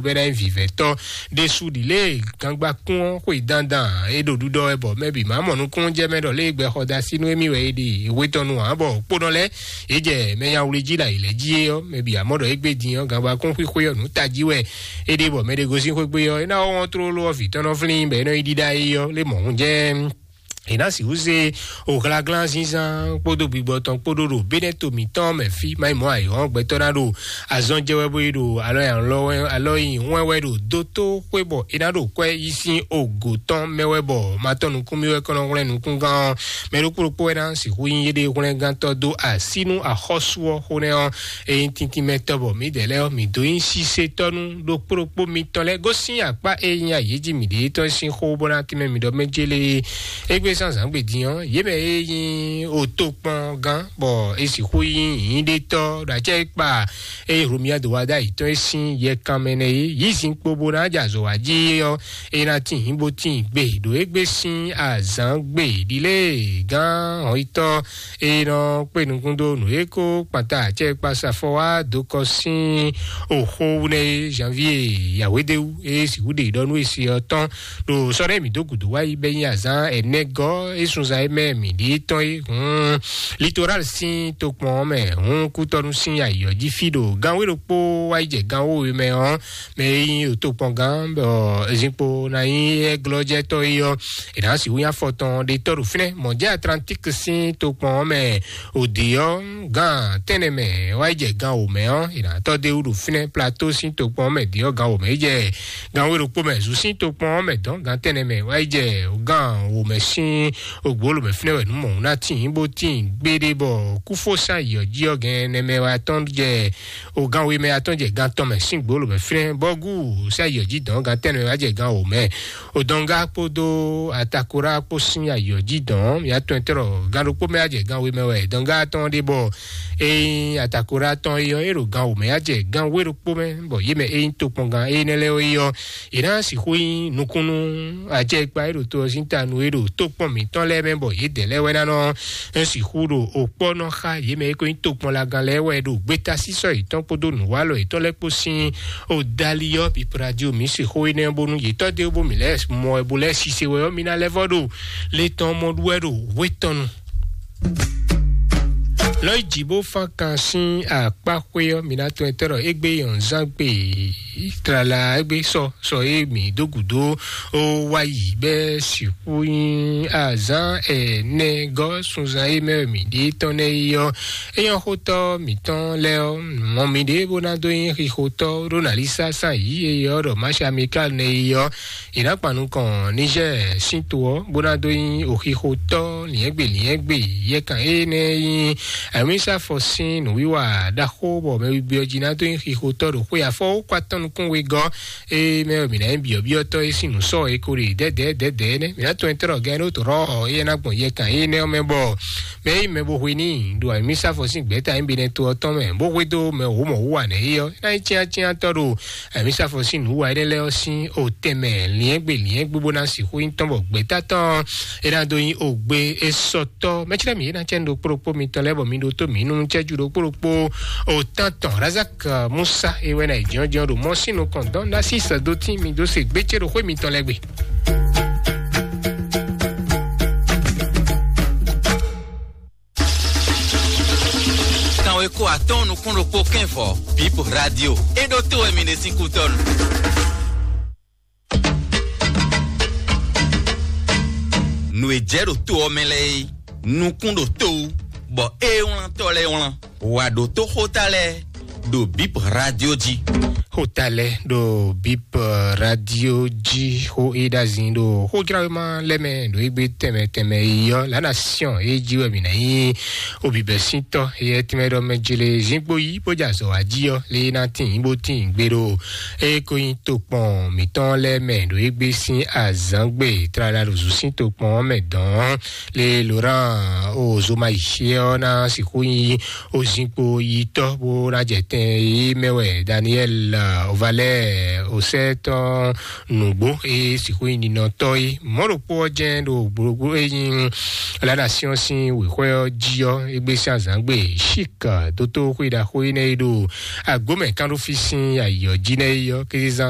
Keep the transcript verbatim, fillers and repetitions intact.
bɛ́ ná nyí vǐvɛ́tɔ́ ɖésú ɖi lé gangbakún ɔ́ xwe dandan é ɖo ɖuɖɔ wɛ bɔ mɛ bǐ má mɔ nukúnnú jɛ mɛ ɖɔ lé gbɛ xɔ da sí nú émí wɛ é ɖi hwetɔnu ǎ bɔ kpónɔ lɛ́ɛ é jɛ mɛ nyawlí jí la yi lɛ́ jí é ɔ́ mɛ bǐ amɔ ɖɔ égbé din ɔ́ gangbakún xwixwe ɔ́ nǔ tají wɛ é ɖe bɔ mɛ ɖé gosín xwégbé ɔ́ é ná wɔ wɔn tlóló ɔ́ vǐ tɔn nɔ flín bɔ é nɔ yi ɖíɖá é ɔ́ lé mɔ̌ hun jɛ é ná sixú se òhlaglán zínzán kpódó gbigbɔ tɔn kpódó ɖo bénɛ́ to mǐtɔn mɛ fí má nyí mɔ̌ ayǐhɔ́n gbɛtɔ́ ná ɖo azɔn jɛ wɛ bó yi ɖo alɔ nyi alɔ wɛ alɔ nyi wɛn wɛ ɖo dótó xwé bɔ é ná ɖo kwɛ́ yí sín ogo tɔn mɛ wɛ bɔ ma tɔn nukún mì wɛ kɔnɔ hwlɛ́n nukúngán ɔ́ mɛ ɖokpó ɖokpó wɛ ná sixú nyí yéɖée hwlɛ́ngántɔ́ dó así nú axɔ́sú ɔ́ xó nɛ́ ɔ́ é nyí tíntín mɛ tɔ́ bɔ mǐdɛɛ lɛ́ɛ ɔ́ mǐ dó nyí sísétɔ́ nú ɖokpó ɖokpó mitɔn lɛ́ɛ gosín akpá e nyí ayǐ jí mǐɖée tɔn sín xó bó ná tínmɛ mǐ ɖɔ mɛ jélé égbé zán zǎngbè din ɔ́ yě mɛ e nyí otokpɔngán bɔ é sixú nyí nyǐɖétɔ́ ɖo acɛ e kpa eye Hlomia do wá dó ayǐ tɔn e sín yɛkan mɛ nɛ é yí zinkpo bó ná jɛ azɔ̌ wá jí ɔ́ é ná tín bó tín gbe ɖo égbé sín azǎn gbe ɖilé gán hɔnyitɔ́ e nɔ kpé nukún dó nǔ e kó kpanta acɛ kpasa fɔ wá dó kɔ sín oxó wú nɛ́ é janvier yahwédéwú e sixú ɖe ɖɔ nú e se ɔ́ tɔn ɖo sɔ́ ɖé mǐ dó gǔdo wá yi bɛ́ nyi azǎn ɛnɛgɔ́ e sunzan e mɛ mǐ ɖi tɔn é hun litoral sín tokpɔn ɔ́ mɛ hun kútɔ́nú sín ayǐ ɔ́ jí fí ɖo gánwé ɖokpó wá yi jɛ gánwó we mɛ ɔ́ mɛ e nyí tokpɔngán bɔ zinkpo ná nyí ɛglɔ́jɛtɔ́ é ɔ́ è nǎ sixú nyí afɔtɔn ɖetɔ́ ɖo fínɛ́ mɔ̌ jẹ́ Atlantique sín tokpɔn ɔ́ mɛ òdì ɔ́ gán tɛ́nnɛ mɛ wá yi jɛ gán wǒ mɛ ɔ́ è nǎ tɔ́ dó é wú ɖo fínɛ́. Plateau sín tokpɔn ɔ́ mɛ dǐ ɔ́ gán wǒ mɛ yi jɛ gán wé ɖokpó mɛ zu sín tokpɔn ɔ́ mɛ dɔn gán tɛ́nnɛ mɛ wá yi jɛ gán wǒ mɛ sín ògbóló mɛ fínɛ́ wɛ nǔ mɔ̌ ná tín bó tín gbéɖé bɔ kúfó sín ayǐ ɔ́ jí ɔ́ gɛn ɛnɛ mɛ wá tɔn jɛ o gánwé mɛ atɔn jɛ gán tɔn mɛ sín gbolo mɛ flɛn bɔgu sɛ ayɔ jí dɔn gán tɛnɛ wá jɛ gán o mɛ o dɔnga kpódó atakora kpó sín ayɔ jí dɔn ya tɔn tɔrɔ gán ɖokpó mɛ wá jɛ gánwé mɛ wɛ dɔnga tɔn ɖe bɔ eyin atakora tɔn eyɔ e ɖo gán o mɛ wá jɛ gánwé ɖokpó mɛ bɔ yé mɛ eyin tokpɔn gán eyin lɛ eyɔ e ná sixú nyi nukúnnú ajɛ kpa e ɖo to ɔ́ sín ta nu e ɖo tokpɔn mǐtɔn lɛ́ɛ mɛ bɔ yě dɛ lɛ́ɛ wɛ ná nɔ sixú ɖo òkpɔ́ nɔ xa yě mɛ e ko nyí tokpɔnlagán lɛ́ɛ wɛ ɖo gbétasísɔ yětɔn kpódó nǔwalɔ yětɔn lɛ́ɛ kpó sín odali ɔ́ pipradio mǐ se xó énɛ́ bónú yě tɔ́ dé bó mǐ lɛ́ɛ mɔ wɛ bó lɛ́ɛ sise wɛ ɔ́ mǐ ná lɛ́ vɔ́ ɖo le tɔn mɔ ɖu wɛ ɖo wé tɔn nu. Lɔ yi jǐ bó fán kan sín akpáxwé ɔ́ mǐ ná tɔn ɛtɛ́ ɖɔ égbé yɔ̌nzán gbe tlala égbé sɔ sɔ e mǐ dó gǔdo ó wá yi bɛ́ sixú nyí azǎn ɛnɛ gɔ́ sunzan e mɛ mǐ ɖe tɔn nɛ́ yi ɔ́. Éyɔ́ xótɔ́ mǐtɔn lɛ́ɛ ɔ́, mɔ mǐ ɖě bó ná dó nyí xixotɔ́ ɖó nǎ lí sásán yǐ e ɔ́ ɖɔ Mashi Amikal nɛ́ yi ɔ́. È nǎ kpan nukɔn Nizɛ́ɛ sín to ɔ́, bó ná dó nyí òxixotɔ́ lǐɛ́ngbè lǐɛ́ngbè yɛkan énɛ́ nyí Amísafɔ sín nǔwiwa ɖaxó bɔ mɛ wigbí ɔ́ jí ná dó nyí xixotɔ́ ɖo xwé afɔwókwa tɔn nukún wegɔ́. Ée mɛ mǐ ná nyí byɔ̌byɔ́tɔ́ e sín nǔ sɔ́ e ko ɖe dɛ̌dɛ̌ dɛ̌dɛ̌ nɛ́, mǐ ná tɔn tɔ́ ɖɔ gɛ́n ɖó tɔ̌ éyɛ́ ná gbɔn yɛkan énɛ́ ɔ́ mɛ bɔ mɛ e nyí mɛ bó hwe n'i ɖo Amísafɔ sín gbɛ̌ta nyí Benɛto ɔ́ tɔn mɛ, bó hwedó mɛ wǒ mɔ wú wa nɛ̌ é ɔ́, é ná nyí cyáncyántɔ́ ɖo Amísafɔ sín nǔ wa énɛ́ lɛ́ɛ ɔ́ sín otɛn mɛ. Lǐɛ́ngbè lǐɛ́ngbé bó ná sixú nyí tɔn bɔ gbɛ̌ta tɔn é ná dó nyí ogbe é sɔ́ tɔ́ mɛ̌ clɛ́ mǐ é ná cɛ nú ɖo kplɔ́kpó mitɔn lɛ́ɛ bɔ mi ɖótó mǐ nú cɛ́jú ɖokpó ɖokpó. Òtántɔn Razak Musa é wɛ ná yi jɔ́njɔ́n ɖo mɔ̌ sín nukɔn dɔn ná sí sɛ̌dótín mi dó se gbécé ɖo xwé mitɔn lɛ́ɛ gbe. Kanwe ko atɔn nukún ɖokpó kɛn vɔ Bip Radio é ɖótó wɛ mi ɖe sín kútɔ́ nu. Nǔ e jɛ ɖo to ɔ́ mɛ lɛ́ɛ é, nukún ɖo to wú, bɔ é wlántɔ́ lɛ́ɛ wlán. Wǎ ɖótó xóta lɛ́ɛ ɖo Bip Radio jí. Xóta lɛ́ɛ ɖo Bip Radio jí xó é ɖazin ɖo xójlawéma lɛ́ɛ mɛ ɖo égbé tɛnmɛ tɛnmɛ yi ɔ́ lǎ nasiɔn é jí wɛ mǐ ná nyí obibɛsíntɔ́ éyɛ́ tɛnmɛ ɖɔ mɛ jele zíngbo yí bó jɛ azɔ̌ wá jí ɔ́ lé ná tín bó tín gbé ɖo é ko nyí tokpɔn mǐtɔn lɛ́ɛ mɛ ɖo égbé sín azǎngbe tlala ɖo zǔ sín tokpɔn ɔ́ mɛ dɔn lé Laurent o zoma yi ɔ́ ná sixú nyí o zínkpo yitɔ́ bó ná jɛ tɛn yí mɛ wɛ Daniel Ovalɛ osɛtɔ nǔgbó e sixú nyi ninɔtɔ é. Mɔ̌ ɖokpó ɔ́ jɛ́n ɖo gbogbo e nyí la nation sín wěxwɛ ɔ́ jí ɔ́, égbé sín azǎngbe Chik, dótó xwé ɖaxó énɛ́ e ɖo agomɛ kánɖófí sín ayǐ ɔ́ jí nɛ́ é ɔ́, kézezán